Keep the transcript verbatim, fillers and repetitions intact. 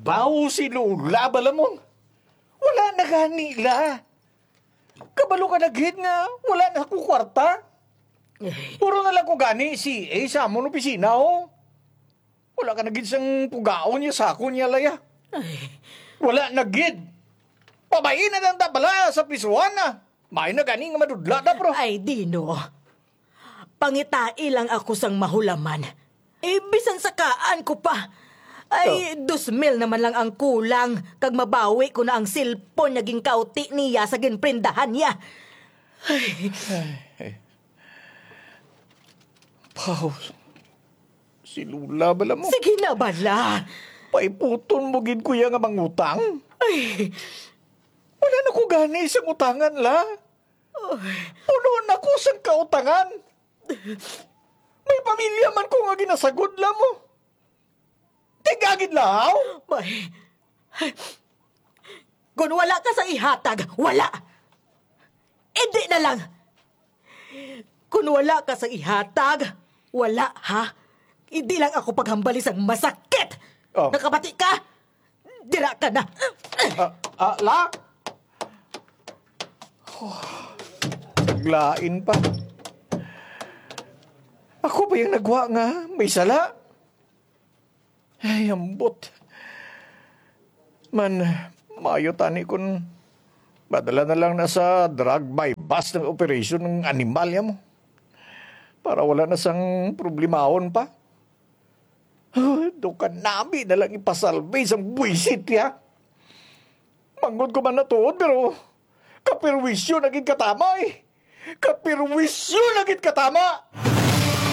Baw si Lola bala mo. Wala na gani la. Kabalo ka na gid nga wala na ko kwarta. Eh. Puro na lang ko gani si A sa amon opisina, oh. Wala ka na gid sang pugaon niya sa akon niya, Laya. Ay. Wala na gid. Pabayi na lang ta bala sa pisuhan na. May na gani nga madudla na, bro. Ay, Dino. Pangitai lang ako sang mahulaman. Eh, bisan sakaan ko pa. Ay, Oh. dos mil naman lang ang kulang, kag mabawi ko na ang cellphone nga ginkauti niya sa ginprendahan niya. Ay. Ay. Pau, si Lola bala mo. Sige na bala. Paiputon mo gid ko iya nga mangutang. Ay. Wala na ko gani sa utangan la. Ay. Puno na ko sang kautangan. May pamilya man ko nga ginasagod la mo. Tigagid lahaw? Bay, kun wala ka sa ihatag, wala. Hindi na lang. Kun wala ka sa ihatag, wala, ha? Hindi lang ako paghambali sang masakit. Oh. Nakabati ka? Dira ka na. Ah, ah, la? Oh, naglain pa. Ako pa yung nagwa nga may sala. Ay, ambot. Man, maayo tani kun madala na lang na sa drug buy-bust ng operation ng animal ya mo. Para wala na sang problemahon pa. Do ka nami na lang ipasalbi sang buwisit ya. Manggod ko man natuod, pero kapirwisyo na gid katama eh. Kapirwisyo na gid katama!